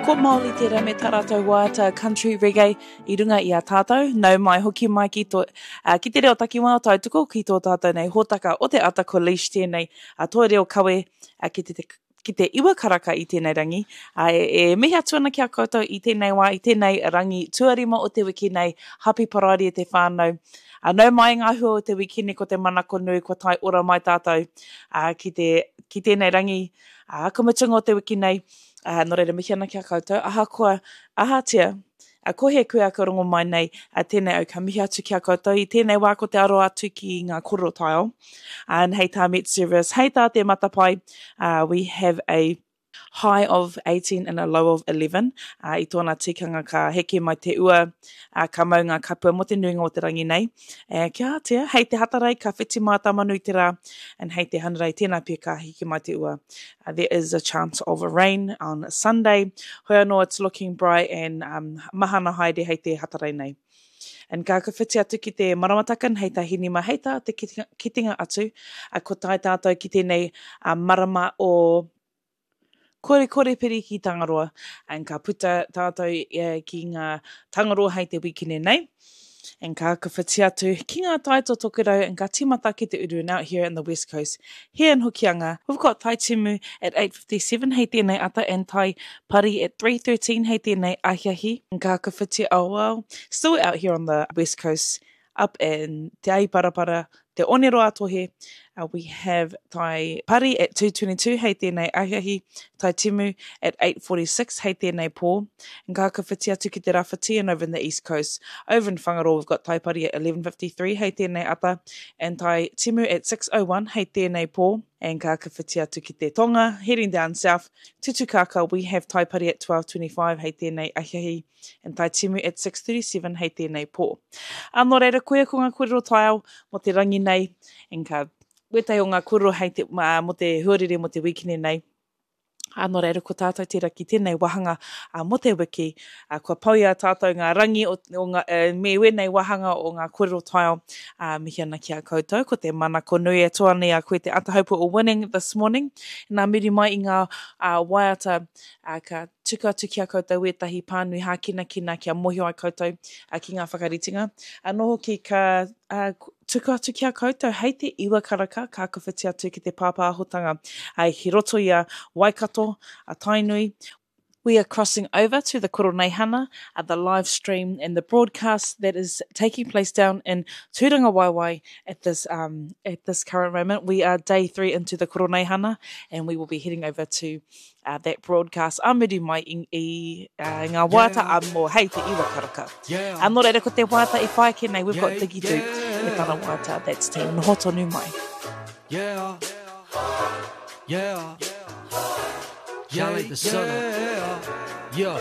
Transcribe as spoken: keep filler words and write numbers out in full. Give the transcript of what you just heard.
Ko Māori tērā me tā rātou waiata country reggae i runga i a tātou. Nau mai, hoki mai ki, tō, uh, ki te reo takiwā o Tautoko, ki tō tātou nei hōtaka o te ata ko Leish tēnei, a tō reo kawe uh, ki te, te ki te iwa karaka i tēnei rangi. A, e, e mihi atu ana ki a koutou i tēnei wā, i tēnei rangi tuarima o te wiki nei. Hapi paraire e te whānau. A, nau mai ngā hua o te wikine ko te manako nui kua tae ora mai tātou a, ki, te, ki tēnei rangi. A, ka mutunga o te wiki nei, a, nō reira mihi ana ki a koutou. Ahakoa, ahatia, a ko he koe aka rongo mai nei, a tēnei au ka mihi atu ki a koutou. I tēnei wā ko te aro atu ki ngā kōrero taiao. And hei tā Met Service, hei tā te matapae, uh, we have a high of eighteen and a low of eleven. Uh, I tōna tikanga ka heke mai te ua, uh, ka mau ngā kapua mō te nuinga o te rangi nei. E, kia atia, hei te Hatarei ka whiti mātamanu i te rā, and hei te Hanarei tēnā pia ka heke mai te ua. Uh, there is a chance of a rain on Sunday. Hoi anō, it's looking bright and um, mahana haere hei te Hatarei nei. And ka ka whiti atu ki te maramataka, hei tā Hinima, hei tā te kitenga, kitenga atu, uh, ko tae tātou ki tēnei uh, marama o Kore kore piri ki Tangaroa, and ka puta tātou uh, ki ngā Tangaroa hei te wikine nei. And ka ka whiti atu ki ngā tai o Tokerau and ka timata ki te uru and out here in the West Coast. Here in Hokianga, we've got Tai Timu at eight fifty-seven hei tēnei ata and Tai Pari at three thirteen hei tēnei ahiahi. And ka ka whiti, oh well, still out here on the West Coast, up in Te Ahiparapara, Te Oneroa Tohe, uh, we have Tai Pari at two twenty-two hei tēnei ahiahi, Tai Timu at eight forty-six hei tēnei pō. And ka ka whiti atu ki te Rawhiti and over in the East Coast. Over in Whangaroa, we've got Tai Pari at eleven fifty-three hei tēnei ata and Tai Timu at six oh one hei tēnei pō. And ka ka whiti atu ki te Tonga, heading down south to Tukaka, we have Tai Pari at twelve twenty-five hei tēnei ahiahi and Tai Timu at six thirty-seven hei tēnei pō. A nō reira, koia ko ngā kōrero taiao mō te rangi nei, and ka wētahi o ngā kōrero hei te, mā, mō te huarere mō te wikine nei. A nō reira, ko tātou tērā ki tēnei wāhanga a, mō te wiki. A, kua pau i a tātou ngā rangi o, o ngā, e, me wēnei wāhanga o ngā kōrero taiao. A, mihi ana ki a koutou. Ko te manako nui e toa nei a koe te ata hope o winning this morning. Nā muri mai i ngā a, waiata a, ka tuku atu ki a koutou wētahi pānui hākinakina kia mōhio ai koutou a, ki ngā whakaritinga. Anō hoki ka a, tuku atu ki a koutou hei te iwa karaka ka kawhiti atu ki te pāpāhotanga ai ki roto i a Waikato, a Tainui. We are crossing over to the Koroneihana, uh, the live stream and the broadcast that is taking place down in Tūrangawaewae at this um, at this current moment. We are day three into the Koroneihana, and we will be heading over to uh, that broadcast. A muri mai i, i uh, ngā waiata a mō hei te iwa karaka. Yeah. A nō reira ko te waiata i whai ake nei, we've got Yeah, Diggy Duke me tana waiata, that's te noho tonu mai. Yeah. Yeah. Shine like the sun. Yeah.